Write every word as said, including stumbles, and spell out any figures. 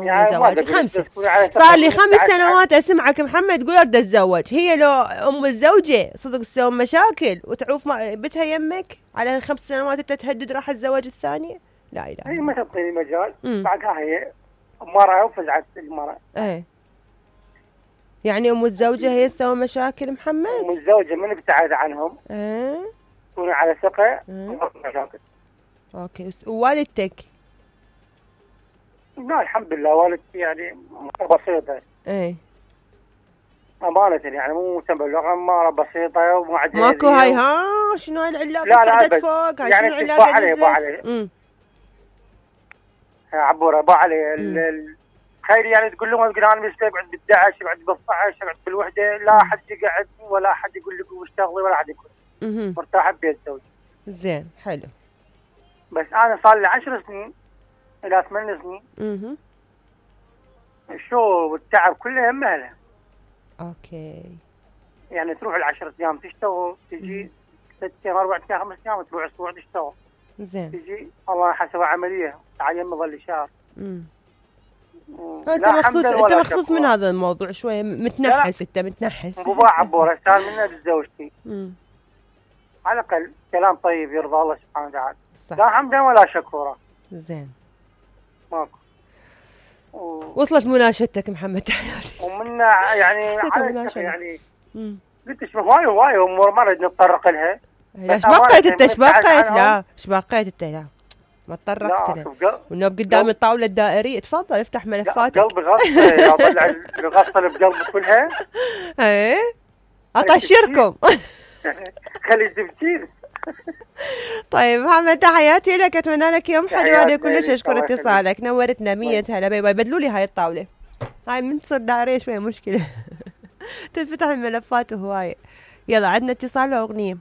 يعني زواج خمسة، صار لي خمس سنوات اسمعك محمد تقول اريد اتزوج. هي لو ام الزوجة صدق تسوي مشاكل وتعوف بنتها يمك على خمس سنوات انت تهدد راح الزواج الثاني؟ لا اله. هي ما تعطيني مجال. بعدها هي مرة وفزعت المرأة. ايه يعني ام الزوجة هي تسوي مشاكل محمد؟ ام الزوجة من ابتعد عنهم ايه تكون على ثقة مشاكل. اوكي. ووالدتك؟ لا الحمد لله والدتي يعني بسيطة. ايه أمانة يعني مو متبلغة، مرة بسيطة ومعجزة. ماكو هاي ها شنو هاي العلاقة؟ لا لا صعدت فوق هاي يعني شنو العلاقة؟ با عليه با عليه عبورة با عليه الخير يعني تقول لهم تقول أنا مش قاعد بالدعش قاعد بالطعش قاعد بالوحدة، لا حد يقعد ولا حد يقول لك واشتغلي ولا حد يقول مرتاحة ببيت زوجي. زين حلو. بس أنا صار لي عشر سنين إلى ثمان سنين اها الشو والتعب كله مهله. اوكي. يعني تروح العشر ايام تشتغل تجي ست ايام اربع ايام خمس ايام تروح اسبوع تشتغل. زين. تجي الله حسب عمليه تعين مظل شهر. امم انت مخصوص انت مخصوص من هذا الموضوع شويه متنحس. انت متنحس. ابو عبوره صار منها زوجتي. امم على الاقل كلام طيب يرضى الله سبحانه وتعالى. لا حمدا ولا شكورا. زين. ماكو. و... وصلت مناشدتك محمد تحياتي. ومنا يعني يعني امم قلت ايش هواي هواي امور ما نريد نتطرق لها. ايش بقيت انت؟ ايش بقيت؟ لا ايش بقيت انت؟ لا ما تطرقت لها. والنوب قدام الطاوله الدائريه. تفضل افتح ملفاتك. قلبي غصه اطلع الغصه اللي بقلبي كلها. ايه اطشركم. خلي تفكير. طيب محمد تحياتي لك، اتمنى لك يوم حلو. انا كلش اشكر اتصالك، نورتنا. مية هلا. باي باي. بدلوا لي هاي الطاوله، هاي من تصير دائريه شويه مشكله. تنفتح الملفات وهوايه. يلا عندنا اتصال واغنيه.